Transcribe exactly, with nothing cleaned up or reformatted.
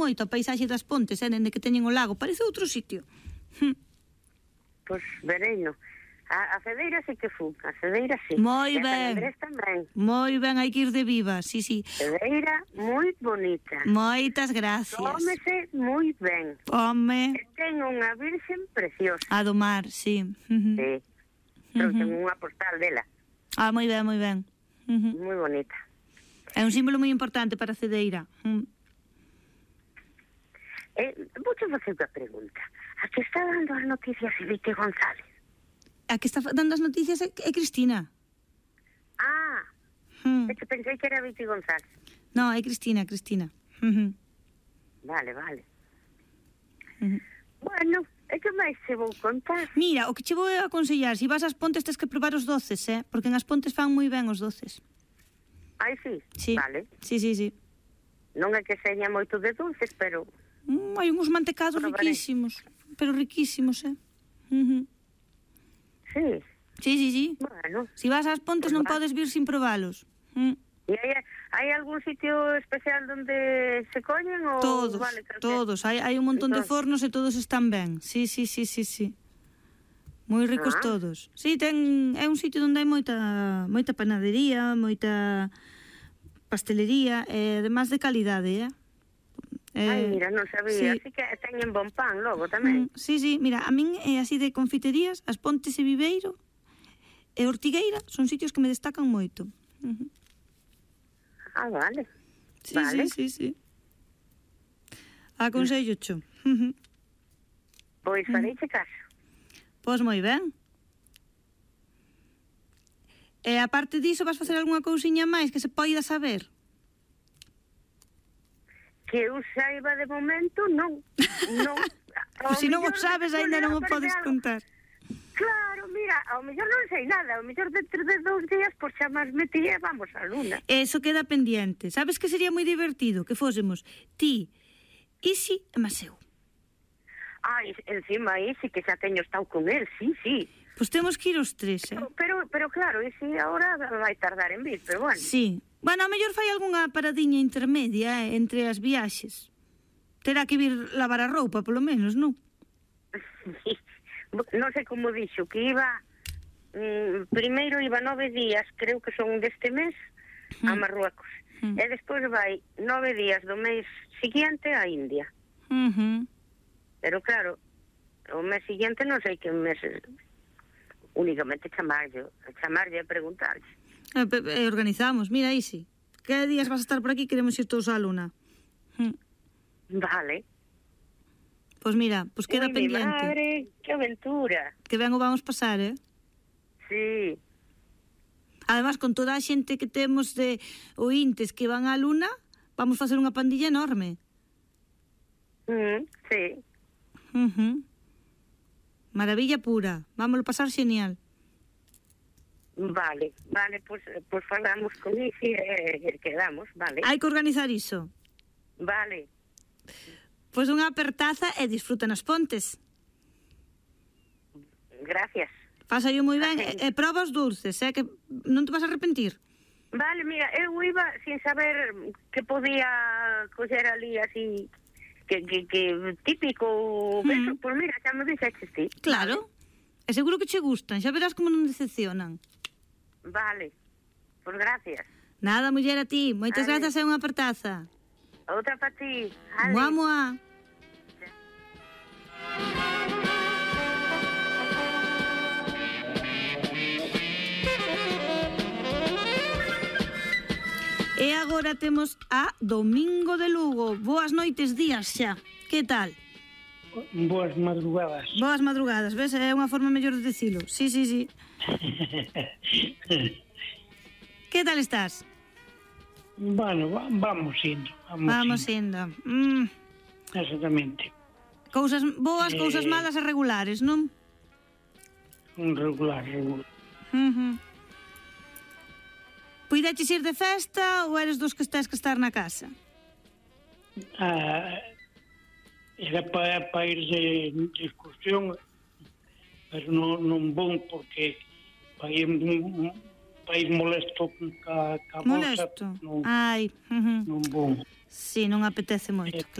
moito a paisaxe das Pontes, eh, dende que teñen o lago, parece outro sitio. Pois vereino. A, a Cedeira sí que fun, a Cedeira sí. Moi e ben. a Andrés tamén. Moi ben, hai que ir de viva, sí, sí. Cedeira moi bonita. Moitas gracias. Cómese moi ben. Home. E ten unha virxen preciosa. A do mar, sí. Uh -huh. Sí. Pero Uh -huh. ten unha postal dela. Ah, moi ben, moi ben. Uh -huh. Moi bonita. É un símbolo moi importante para a Cedeira. Uh -huh. Eh, vou te facer unha pregunta. A que está dando as noticias de Vite González? A que está dando as noticias é, é Cristina. Ah, Hmm. é que pensei que era Vite González. No, é Cristina, Cristina. Uh -huh. Vale, vale. Uh -huh. Bueno, é que máis se vou contar? Mira, o que che vou aconsellar, se vas ás Pontes tes que probar os doces, eh? Porque en as Pontes fan moi ben os doces. Ai, sí? Sí. Vale. Sí, sí, sí. Non é que seña moito de dulces, pero... Mm, hai uns mantecados Probaré. riquísimos, pero riquísimos, eh? Uh -huh. Sí. Sí, sí, sí. Bueno. Si vas ás Pontes non Pues va. podes vir sin probalos. Mm. E hai, hai algún sitio especial donde se collen ou... Todos, vale, calquera? todos. Hai, hai un montón de Entón- fornos e todos están ben. Sí, sí, sí, sí, sí. Moi ricos Ah. todos. Sí, ten, é un sitio onde hai moita moita panadería, moita pastelería, e además de calidade, eh? Ai, mira, non sabía. sí. Así que teñen bon pan logo tamén. Mm, sí, sí, mira, a min é así de confiterías, as Pontes e Viveiro e Ortigueira son sitios que me destacan moito. Uh -huh. Ah, vale. Sí, Vale. sí, sí, sí. Aconsello cho. Uh -huh. Pois fareiche caso. Pois moi ben. E aparte diso, vas facer algunha cousiña máis que se poida saber? Que eu saiba de momento, non. Non. Pois se non o sabes, aínda non o podes contar. Claro, mira, ao mellor non sei nada, ao mellor dentro de dous días por chamasme ti e vamos á luna. Eso queda pendiente. Sabes que sería moi divertido que fósemos ti, Isi e Maseu. Ai, encima ese que xa teño estado con él, sí, sí. Pois temos que ir os tres, eh? Pero, pero, pero claro, ese agora vai tardar en vir, pero bueno. Sí. Bueno, a mellor fai algunha paradiña intermedia, eh, entre as viaxes. Terá que vir lavar a roupa, polo menos, non? Non sei como dixo, que iba... Mm, primeiro iba nove días, creo que son deste mes, a Marruecos. Mm. E despois vai nove días do mes siguiente a India. Uh -huh. Pero claro, o mes siguiente non sei que mes... Únicamente chamarlle, chamarlle e preguntarlle. E, e organizamos, mira, Isi. Que días vas a estar por aquí? Queremos ir todos á luna. Mm. Vale. Pois mira, pois queda Ui, mi pendiente. madre, que aventura. Que ben o vamos pasar, eh? Sí. Además, con toda a xente que temos de ointes que van á luna, vamos facer unha pandilla enorme. Mm, sí. Uh -huh. Maravilla pura. Vámoslo pasar genial. Vale, vale, pues, pues falamos con Isi e eh, quedamos, vale. Hai que organizar iso. Vale. Pois unha apertaza e disfruta nas Pontes. Gracias. Pásallo moi ben e, e proba os dulces, eh, que non te vas a arrepentir. Vale, mira, eu iba sin saber que podía coger ali así que, que, que típico Mm. eso, pues mira, xa me dixeches ti. Claro. E seguro que che gustan, xa verás como non decepcionan. Vale. Pues gracias. Nada, muller, a ti. Moitas Vale. grazas e unha apertaza. Outra para ti. Ale. Mua, mua. E agora temos a Domingo de Lugo. Boas noites, días xa. Que tal? Boas madrugadas. Boas madrugadas, ves? É unha forma mellor de dicilo. Sí, sí, sí. Que tal estás? Bueno, va- vamos indo. Vamos, Vamos indo. indo. Mm. Exactamente. Cousas boas, Eh. cousas malas e regulares, non? Un regular, regular. Uh -huh. Puideches ir de festa ou eres dos que estás que estar na casa? Ah, era para pa ir de, de excursión, pero non, non bon porque para ir, pa ir molesto ca, ca Molesto? bolsa, non, Ai, uh -huh. non bon. Si, non apetece moito, Eh. claro.